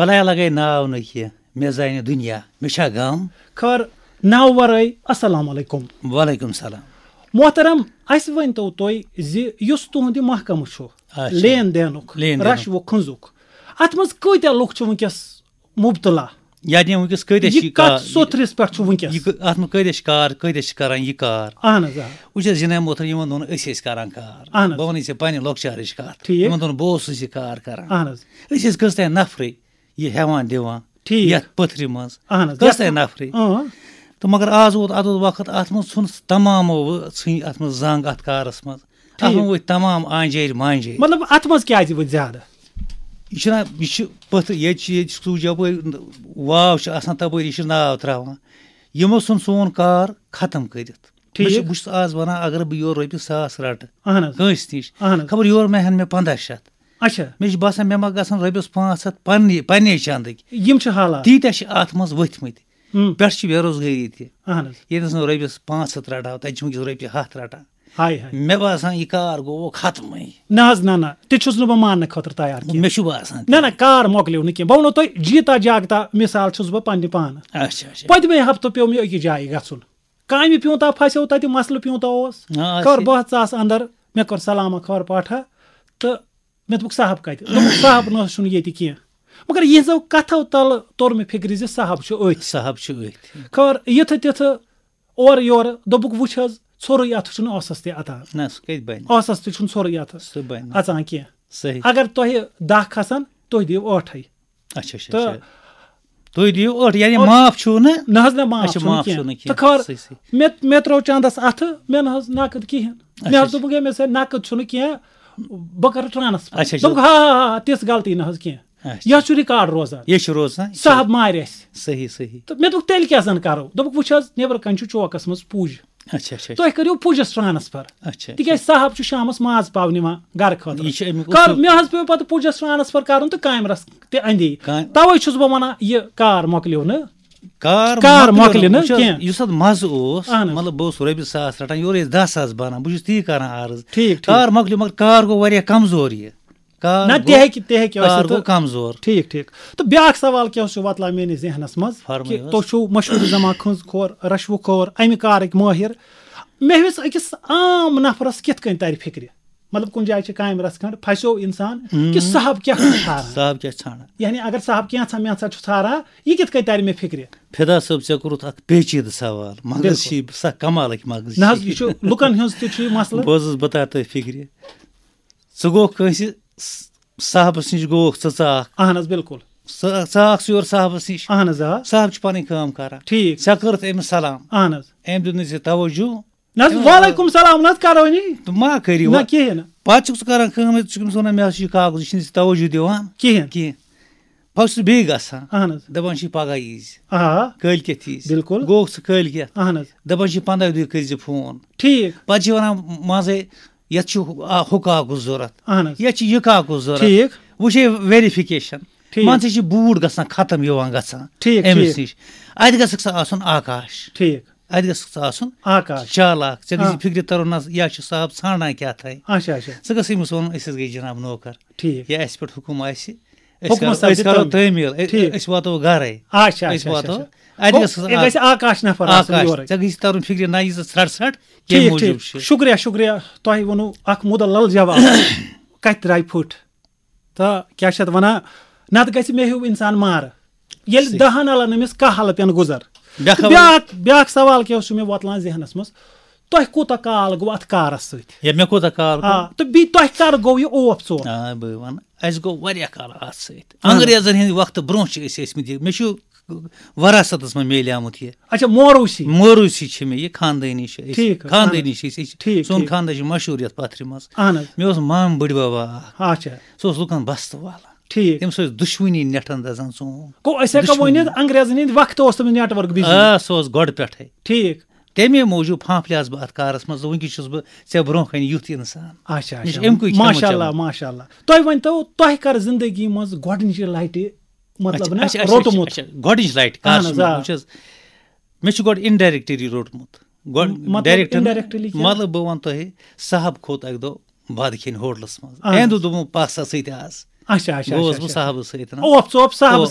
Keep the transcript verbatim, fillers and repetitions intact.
بلایا لگے ناو نہٕ کینٛہہ، مےٚ زانہِ دُنیا، مےٚ چھا غم؟ خٲر، ناو ورٲے، السلام علیکم۔ وعلیکم السلام۔ محترم، اسہِ ؤنۍ تو تُہۍ زِ یُس تُہُنٛد یہِ محکمہٕ چھُ، اچھا۔ لین دینُک، لین دینُک۔ رشوٕ کھنزُک، اتھ منٛز کۭتیاہ لُکھ چھِ وٕنکیٚس مبتلا؟ یعنی وٕنکیٚس کۭتیاہ یہِ شِکار؟ کتھ سوٚتھرِس پٮ۪ٹھ چھُ وٕنکیٚس؟ یہِ کہٕ-، اتھ منٛز کۭتیاہ شِکار، کۭتیاہ چھِ کران یہِ کار؟ اہن حظ، آ۔ وٕچھ حظ، جناب محترم، یِمن دۄہن أسۍ ٲسۍ کران کار۔ اہن حظ۔ بہٕ ونہٕ ژےٚ پننہِ لۄکچارٕچ کتھ۔ ٹھیٖک۔ یِمن دۄہن بہٕ اوسُس یہِ کار کران۔ اہن حظ۔ أسۍ ٲسۍ کٔژ تام نفرٕے یہِ ہٮ۪وان دِوان ٹھیٖک۔ یتھ پٔتھرِ منٛز۔ اہن حظ، کٔژ یتھ تام نفرٕے۔ اۭں۔ تہٕ مگر آز ووت، اتھ ووت وقت، اتھ منٛز ژھُن تمامو ژھٕنۍ اتھ منٛز زنگ اتھ کارس منٛز۔ اتھ ٹھیٖک۔ منٛز ؤتھۍ تمام آنجٲرۍ مانجٲرۍ۔ مطلب، اتھ منٛز کیازِ ؤتھۍ زیادٕ؟ یہِ چھُنہ، یہِ چھُ پٔتھر، ییٚتہِ چھِ، ییٚتہِ چھُ سُے یپٲرۍ واو چھِ آسان، تپٲرۍ یہِ چھُ ناو تراوان۔ یِمو ژھُن سون کار ختم کٔرِتھ۔ ٹھیٖک۔ مےٚ چھُ، بہٕ چھُس آز ونان، اگر بہٕ یورٕ رۄپیہِ ساس رٹہٕ اہن حظ۔ کٲنٛسہِ نِش، اہن حظ۔ خبر یورٕ مہ ہن مےٚ پنٛداہ شیٚتھ۔ اچھا۔ مےٚ چھُ باسان، مےٚ ما گژھن رۄپیس پانٛژھ ہتھ پننہِ، پننے چندٕکۍ۔ یِم چھِ حالات۔ تیٖتیٛاہ چھِ اتھ منٛز ؤتھۍ مٕتۍ۔ ہم۔ پٮ۪ٹھٕ چھِ بے روزگٲری تہِ۔ اہن حظ۔ ییٚتہِ نس نہٕ رۄپیس پانٛژھ ہتھ رٹہٕ ہاو، تتہِ چھِ وٕنکیٚس رۄپیہِ ہتھ رٹان۔ ہاے ہاے۔ مےٚ باسان، یہِ کار گوٚو ختمٕے۔ نہ حظ، نہ، نہ، تہِ چھُس نہٕ بہٕ ماننہٕ خٲطرٕ تیار کینٛہہ۔ مےٚ چھُ باسان تہِ۔ نہ، نہ، کار مۄکلیو نہٕ کینٛہہ۔ بہٕ ونو تۄہہِ، جیٖتا جاگتا مثال چھُس بہٕ پننہِ پانہٕ۔ اچھا، اچھا۔ پٔتمہِ ہفتہٕ پیوٚو مےٚ أکِس جایہِ گژھُن۔ کامہِ پیوٗنٛتاہ پھسیو تَتہِ، مسلہٕ پیوٗنٛتاہ اوس۔ آ، خبر اَسہِ بہت ژاس اندر، مےٚ کوٚر سلامہ خبر پاٹھا، تہٕ مےٚ دوٚپُکھ، "صاحب کتہِ؟" دوٚپُکھ، "صاحب نہ حظ چھُنہٕ ییٚتہِ کینٛہہ۔" مگر یِہنٛزو کتھو تلہٕ توٚر مےٚ فکرِ زِ صاحب چھُ أتھۍ۔ صاحب چھُ أتھۍ۔ خبر یِتھٕ تِتھٕ اورٕ یورٕ دوٚپُکھ، "وُچھ حظ، ژھوٚرُے اَتھ چھُنہٕ اوسس تہِ عطا۔ نہ، سُہ کتہِ بنہِ؟ اوسس تہِ چھُنہٕ ژھوٚرُے اَتھ سُہ بنہِ۔ اژان کینٛہہ۔ صحیح۔ اگر تۄہہِ دَہ کھسن، تُہۍ دِیِو ٲٹھے۔" اچھا، اچھا، تہٕ اچھا۔ تُہۍ دِیِو ٲٹھ، یعنی اور معاف چھُو نہٕ؟ نہ حظ، نہ، معاف اچھا، چھُنہٕ معاف کینٛہہ۔ چھُنہٕ کینٛہہ۔ تہٕ خبر صحیح، صحیح۔ مےٚ، مےٚ ترٛوو چندس اَتھٕ، مےٚ نہ حظ نقد کِہیٖنۍ۔ اچھا، مےٚ حظ اچھا۔ دوٚپُکھ، "ہے، مےٚ سۭتۍ نقد چھُنہٕ کینٛہہ، بہٕ کَرٕ ٹرانسفر۔" اچھا، اچھا۔ دوٚپُکھ، "ہا، ہا، ہا، تِژھ غلطی نہ حظ کینٛہہ۔" اچھا۔ یہِ حظ چھُ ریکارڈ روزان۔ یہِ چھُ روزان، یہِ چھُ صاحب مارِ اَسہِ۔ صحیح، صحیح۔ تہٕ مےٚ دوٚپُکھ، "تیٚلہِ کیٛاہ زَن کَرو؟" دوٚپُکھ، "وٕچھ حظ، نیٚبرٕ کَنہِ چھُ چوکَس منٛز پُج۔" اچھا، اچھا، اچھا۔ تُہۍ کٔرِو پُجَس ٹرانسفر۔ اچھا، اچھا۔ تِکیٛازِ صاحب چھُ شامَس ماز پاو نِوان گرٕ خٲطرٕ۔ یہِ چھُ اَمیُک کر اصوٗل۔ مےٚ حظ پیوٚو پَتہٕ پُجَس ٹرانسفر کَرُن تہٕ کامہِ رَس تہِ اَندے۔ کامہِ توے چھُس بہٕ وَنان، یہِ کار مۄکلیو نہٕ۔ کار کار مۄکلیو مۄکلہِ نہٕ۔ نہٕ وٕچھ حظ، کینٛہہ۔ یُس اَتھ مَزٕ اوس، اہن حظ۔ مطلب، بہٕ اوسُس رۄپیہِ ساس رَٹان، یورٕ ٲسۍ دَہ ساس بَنان، بہٕ چھُس تی کَران عرض۔ ٹھیٖک، ٹھیٖک۔ کار مۄکلیو، مگر کار گوٚو واریاہ کمزور یہِ۔ کار نہ، گوٚو، تہِ ہیٚکہِ، تہِ ہیٚکہِ ٲسِتھ کار تہٕ گوٚو کمزور۔ ٹھیٖک، ٹھیٖک۔ تہٕ بیٛاکھ سوال کیٛاہ اوس یہِ وۄتلان میٛٲنِس ذہنس منٛز فرمٲیِو کہِ حظ۔ تُہۍ چھِو مشہوٗر زما کھنٛز کھور، رشوٕ خور، اَمہِ کارٕکۍ مٲہِر۔ مےٚ ویٚژھ أکِس عام نفرس کِتھ کٔنۍ ترِ فِکرِ؟ مطلب، کُنہِ جایہِ چھِ کامہِ رژھ کھنٛڈ، پھسیو انسان کہِ ہم۔ صاحب کیٛاہ چھُ ژھاران؟ صاحب کیٛاہ چھُ ژھانڈان؟ یعنی اگر صاحب کینٛژھا مینٛژھا چھُ ژھاران، یہِ کِتھ کٔنۍ ترِ مےٚ فِکرِ؟ فدا صٲب، ژےٚ کوٚرُتھ اکھ پیچیدٕ سوال، مگر بِلکُل۔ چھِ سخ کمالٕکۍ مغز نہ حظ، چھِ۔ یہِ چھُ لُکن ہٕنٛز تہِ چھُ یہِ مسلہٕ۔ بوز حظ، بہٕ ترٕ تۄہہِ فِکرِ۔ ژٕ گوٚکھ کٲنٛسہِ س-، صاحبس نِش گوٚکھ ژٕ ژاکھ۔ اہن حظ، بِلکُل۔ ژٕ ژاکھ ژٕ یور صاحبس نِش۔ اہن حظ، آ۔ صاحب چھُ پنٕنۍ کٲم کران۔ ٹھیٖک۔ ژےٚ کٔرٕتھ أمِس سلام۔ اہن حظ۔ أمۍ دیُت نہٕ ژےٚ توجہ۔ نہ حظ، تِم وعلیکم سلام نہ حظ کرو نی۔ تہٕ ما کٔرِو نہ وۄنۍ۔ کِہیٖنۍ نہٕ۔ پتہٕ چھُکھ ژٕ کران کٲم، ژٕ چھُکھ أمِس ونان، "مےٚ حظ چھُ یہِ کاغذ، یہِ چھُنہٕ ژےٚ توجہ دِوان۔" کِہیٖنۍ۔ کِہیٖنۍ۔ پتہٕ چھُس بیٚیہِ گژھان۔ اہن حظ۔ دپان چھِ، "پگاہ ییٖزِ۔" آ۔ کٲلۍ کٮ۪تھ ییٖزِ۔ بِلکُل۔ گوٚو ژٕ کٲلۍ کٮ۪تھ۔ اہن حظ۔ دپان چھِ، "پنٛداہ دۄہہِ کٔرۍزِ فون۔" ٹھیٖک۔ پتہٕ چھِ ونان منٛزے، "یتھ چھُ ہُہ، آ، ہُہ کاغذ ضروٗرت۔ اہن حظ۔ یتھ چھِ یہِ کاغذ ضروٗرت۔" ٹھیٖک۔ وۄنۍ چھِ ویریفِکیشن۔ ٹھیٖک۔ مان ژٕ، یہِ چھِ بوٗٹ گژھان ختم یِوان گژھان ٹھیٖک، أمِس ٹھیٖک۔ نِش۔ اتہِ گژھکھ ژٕ آسُن آکاش۔ ٹھیٖک۔ اتہِ گژھکھ ژٕ آسُن آکاش۔ چالاک۔ ژےٚ گژھِ ہاں۔ فِکرِ ترُن، نہ، یا چھُ صاحب ژھانڈان کیٛاہ تھاے۔ اچھا، اچھا۔ ژٕ گژھ أمِس وَنُن، "أسۍ حظ گٔے جناب نوکر۔" ٹھیٖک۔ یا اَسہِ پٮ۪ٹھ حُکُم آسہِ، أسۍ حُکمَس کرو، سپدِ أسۍ کرو تعمیٖل۔ تعمیٖل، أ-، ٹھیٖک۔ أسۍ واتو گرے۔ اچھا، أسۍ اچھا، واتو۔ اچھا، اچھا۔ اَتہِ گوٚو، گژھِ یہِ گژھِ آکاش نفر آسُن آکاش، یورَے۔ ژےٚ گژھِ ترُن فِکرِ، نہ، یہِ ژٕ ژھرٛٹھ ژھرٛٹھ، کَمہِ ٹھیٖک، موٗجوٗب ٹھیٖک۔ چھُ؟ شُکریہ، شُکریہ۔ تۄہہِ ووٚنوُ اکھ مُدلل جواب۔ کَتہِ درٛاے پھٕٹ؟ تہٕ کیٛاہ چھِ اَتھ وَنان؟ نَتہٕ گژھِ مےٚ ہیوٗ اِنسان مارٕ۔ ییٚلہِ صحیح۔ دَہَن اَلَن أمِس کاہ اَلہٕ پٮ۪ن گُزر۔ بیٛاکھ تہٕ سوال۔ بیٛاکھ، بیٛاکھ سوال کیٛاہ اوس مےٚ وۄتلان ذہنَس منٛز؟ تۄہہِ کوٗتاہ کال گوٚو اَتھ کارَس سۭتۍ؟ یا مےٚ کوٗتاہ کال گوٚو؟ آ، تہٕ بیٚیہِ تۄہہِ کَر گوٚو یہِ اوپ ژوپ؟ آ، بہٕ وَنہٕ، اَسہِ گوٚو واریاہ کال اَتھ سۭتۍ۔ اَہَن حظ۔ انگریزَن ہِنٛدِ وقتہٕ برونٛہہ چھِ أسۍ ٲسۍمٕتۍ یہِ۔ مےٚ چھُ وراثتَس منٛز میلیومُت یہِ۔ اچھا، موروثی۔ موروثی چھِ مےٚ یہِ، خاندٲنی چھِ أسۍ۔ ٹھیٖک حظ، خاندٲنی اَہَن حظ۔ چھِ أسۍ، أسۍ چھِ، ٹھیٖک، سون ٹھیٖک۔ خاندان چھُ مشہوٗر یَتھ پَتھرِ منٛز۔ اَہَن حظ۔ مےٚ اوس مام بٕڈِ بَب اَکھ۔ اچھا۔ سُہ اوس لُکَن بَستہٕ والان۔ ٹھیٖک۔ تٔمِس ٲسۍ دُشمنی نٮ۪ٹَن دَزان ژوٗنٛٹھ۔ گوٚو أسۍ ہٮ۪کو دُشمنی۔ ؤنِتھ، انگریزَن ہِنٛدِ وقتہٕ اوس تٔمِس network busy۔ آ، سُہ اوس گۄڈٕ پٮ۪ٹھَے۔ ٹھیٖک۔ تَمے موٗجوٗب پھانٛپھلیوس بہٕ اَتھ کارَس منٛز، وٕنکیٚس چھُس بہٕ ژےٚ برونٛہہ کَنہِ یُتھ اِنسان۔ اچھا، مےٚ چھُ اچھا۔ اَمہِ کُے کھٮ۪مہٕ ماشاء اللہ، چٮ۪مہٕ۔ ماشاء اللہ۔ تُہۍ ؤنۍ تو، تۄہہِ کَر زِندگی منٛز گۄڈٕنِچہِ لَٹہِ، مطلب اچھا، نہ، اچھا، اچھا، روٚٹمُت؟ اچھا، گۄڈٕنِچ لَٹہِ کَر اَہَن چھُ حظ، مےٚ، آ۔ وٕچھ حظ، مےٚ چھُ گۄڈٕ indirectly روٚٹمُت۔ گۄڈٕ مطلب directly نہٕ، indirectly کیٛاہ؟ مطلب بہٕ وَنہٕ تۄہہِ، صاحب کھوٚت اَکہِ دۄہ بَتہٕ کھیٚنہِ ہوٹلَس منٛز۔ اَہَن أمۍ حظ۔ دوٚپ، "دوٚپُن، پَس سا سۭتۍ آز۔" اچھا، اچھا، گوٚوُس اچھا، بہٕ اچھا۔ صاحبَس سۭتۍ نا۔ اوپ ژوپ صاحبَس اوپ